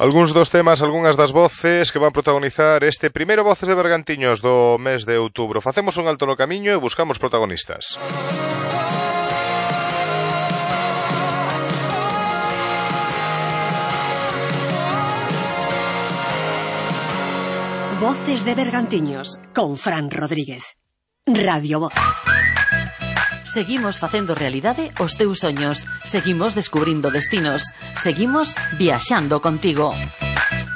Algúns dos temas, algunhas das voces que van protagonizar este primeiro Voces de Bergantiños do mes de outubro. Facemos un alto no camiño e buscamos protagonistas. Voces de Bergantiños con Fran Rodríguez. Radio Voz. Seguimos facendo realidade os teus soños. Seguimos descubrindo destinos. Seguimos viaxando contigo.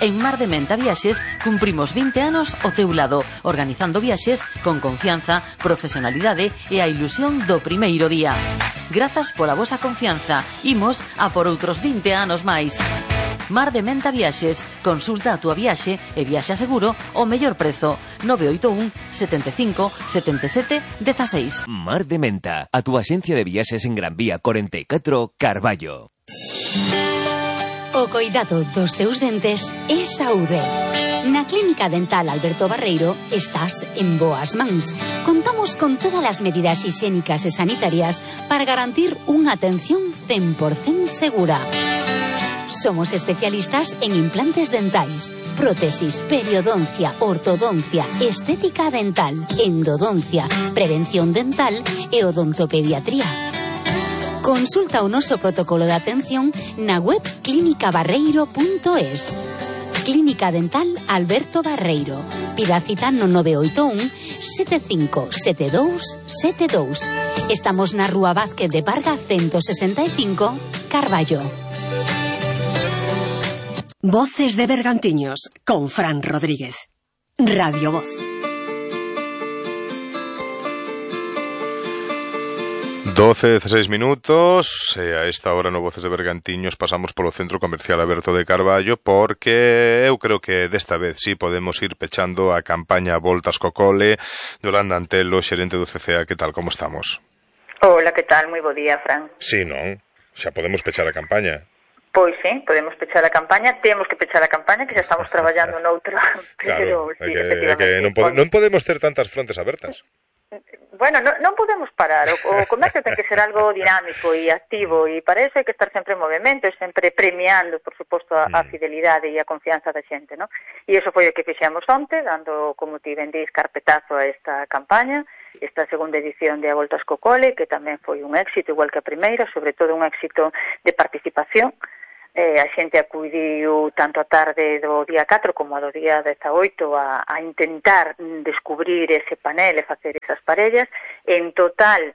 En Mar de Menta Viaxes cumprimos 20 anos ao teu lado, organizando viaxes con confianza, profesionalidade e a ilusión do primeiro día. Grazas pola vosa confianza. Imos a por outros 20 anos máis. Mar de Menta Viaxes. Consulta a túa viaxe e viaxa seguro ao mellor prezo. 981 75 77 16. Mar de Menta, a túa axencia de viaxes en Gran Vía 44, Carballo. O coidado dos teus dentes é saúde. Na Clínica Dental Alberto Barreiro estás en boas mans. Contamos con todas as medidas higiénicas e sanitarias para garantir unha atención 100% segura. Somos especialistas en implantes dentais, prótesis, periodoncia, ortodoncia, estética dental, endodoncia, prevención dental e odontopediatría. Consulta o noso protocolo de atención na web clinicabarreiro.es. Clínica Dental Alberto Barreiro. Pida cita no 981 75 72 72. Estamos na Rúa Vázquez de Parga 165, Carballo. Voces de Bergantiños con Fran Rodríguez. Radio Voz. 12:16 minutos e a esta hora no Voces de Bergantiños pasamos polo Centro Comercial Aberto de Carballo porque eu creo que desta vez sí podemos ir pechando a campaña Voltas co Cole. Yolanda Antelo, xerente do CCA, que tal, como estamos? Hola, que tal? Moi bo día, Fran. Sí, non? Xa podemos pechar a campaña. Pois sí, podemos pechar a campaña, temos que pechar a campaña, que xa estamos traballando noutra, pero claro, sí, efectivamente. Non podemos ter tantas frontes abertas. Bueno, non podemos parar, o comercio ten que ser algo dinámico e activo, e para eso hai que estar sempre en movimento e sempre premiando, por suposto, a fidelidade e a confianza da xente, ¿no? E iso foi o que fixemos onte, dando, como ti ben dis, carpetazo a esta campaña, esta segunda edición de A Voltas co Cole, que tamén foi un éxito, igual que a primeira, sobre todo un éxito de participación. A xente acudiu tanto a tarde do día 4 como a do día 18 a intentar descubrir ese panel e facer esas parellas. En total,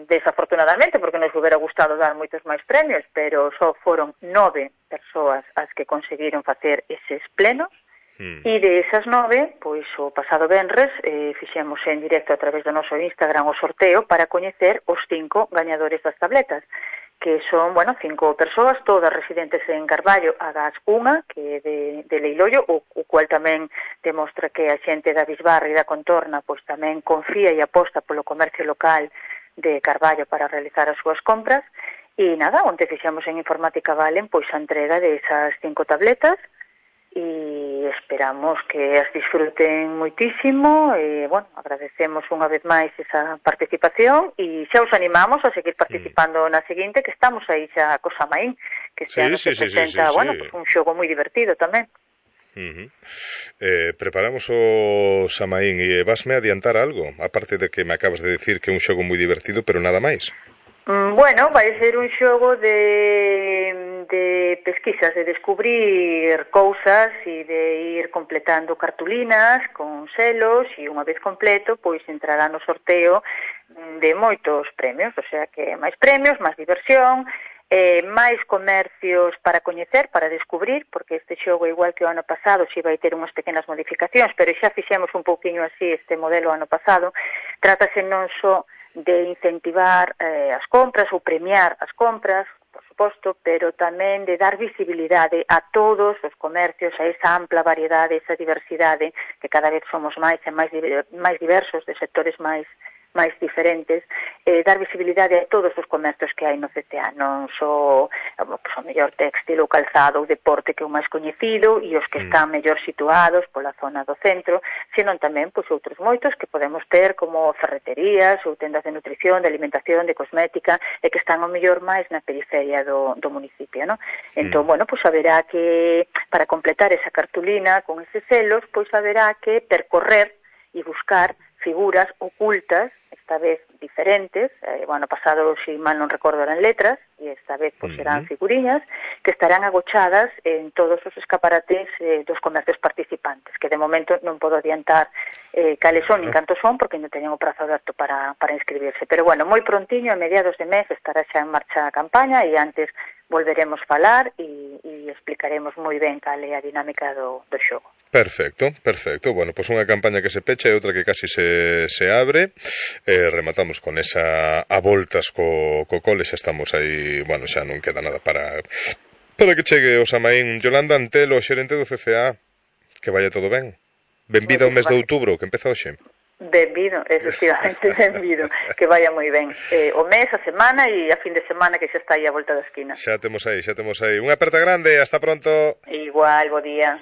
desafortunadamente, porque nos hubiera gustado dar moitos máis premios, pero só foron 9 persoas as que conseguiron facer eses plenos. E de esas 9, pois o pasado venres fixemos en directo a través do noso Instagram o sorteo para coñecer os 5 gañadores das tabletas, que son, 5 persoas, todas residentes en Carballo, agás unha, que é de Leiloio, o cual tamén demostra que a xente da Bisbarra e da contorna pois tamén confía e aposta polo comercio local de Carballo para realizar as súas compras. E nada, onde fixemos en Informática Valen pois a entrega de esas 5 tabletas, e esperamos que as disfruten moitísimo e, agradecemos unha vez máis esa participación e xa os animamos a seguir participando na seguinte, que estamos aí xa co Samaín, que este ano se presenta, pues un xogo moi divertido tamén. Preparamos o Samaín e vasme adiantar algo, aparte de que me acabas de decir que é un xogo moi divertido, pero nada máis. Vai ser un xogo de pesquisas, de descubrir cousas e de ir completando cartulinas con selos e unha vez completo, pois entrará no sorteo de moitos premios, o sea que máis premios, máis diversión, máis comercios para coñecer, para descubrir, porque este xogo, igual que o ano pasado, si vai ter unhas pequenas modificacións, pero xa fixemos un pouquiño así este modelo ano pasado. Trátase non só de incentivar as compras ou premiar as compras, por suposto, pero tamén de dar visibilidade a todos os comercios, a esa ampla variedade, esa diversidade, que cada vez somos máis e máis diversos, de sectores máis diferentes, dar visibilidade a todos os comercios que hai no CTA, non só mellor téxtil ou calzado ou deporte que é o máis coñecido e os que están mellor situados pola zona do centro, senón tamén pois outros moitos que podemos ter como ferreterías ou tendas de nutrición, de alimentación, de cosmética e que están ao mellor máis na periferia do municipio, non? Entón, bueno, pois haberá que, para completar esa cartulina con eses selos, pois haberá que percorrer e buscar figuras ocultas, esta vez diferentes, bueno, pasado, si mal non recordo, eran letras, e esta vez pues, serán figuriñas, que estarán agochadas en todos os escaparates dos comercios participantes, que de momento non podo adiantar cales son nin cantos son, porque non teñen o prazo aberto para inscribirse. Pero bueno, moi prontiño, a mediados de mes, estará xa en marcha a campaña, e antes volveremos falar e explicaremos moi ben cal é a dinámica do xogo. Perfecto, perfecto. Bueno, pues unha campaña que se pecha e outra que casi se abre. Rematamos con esa a voltas co cole, xa estamos aí, bueno, xa non queda nada para que chegue o Samaín. Yolanda Antelo, xerente do CCA, que vaya todo ben. Benvida ao mes de outubro, que empeza hoxe. Benvido, efectivamente, benvido, que vaya moi ben. O mes, a semana e a fin de semana que xa está aí a volta da esquina. Xa temos aí. Unha aperta grande, hasta pronto. Igual, bo día.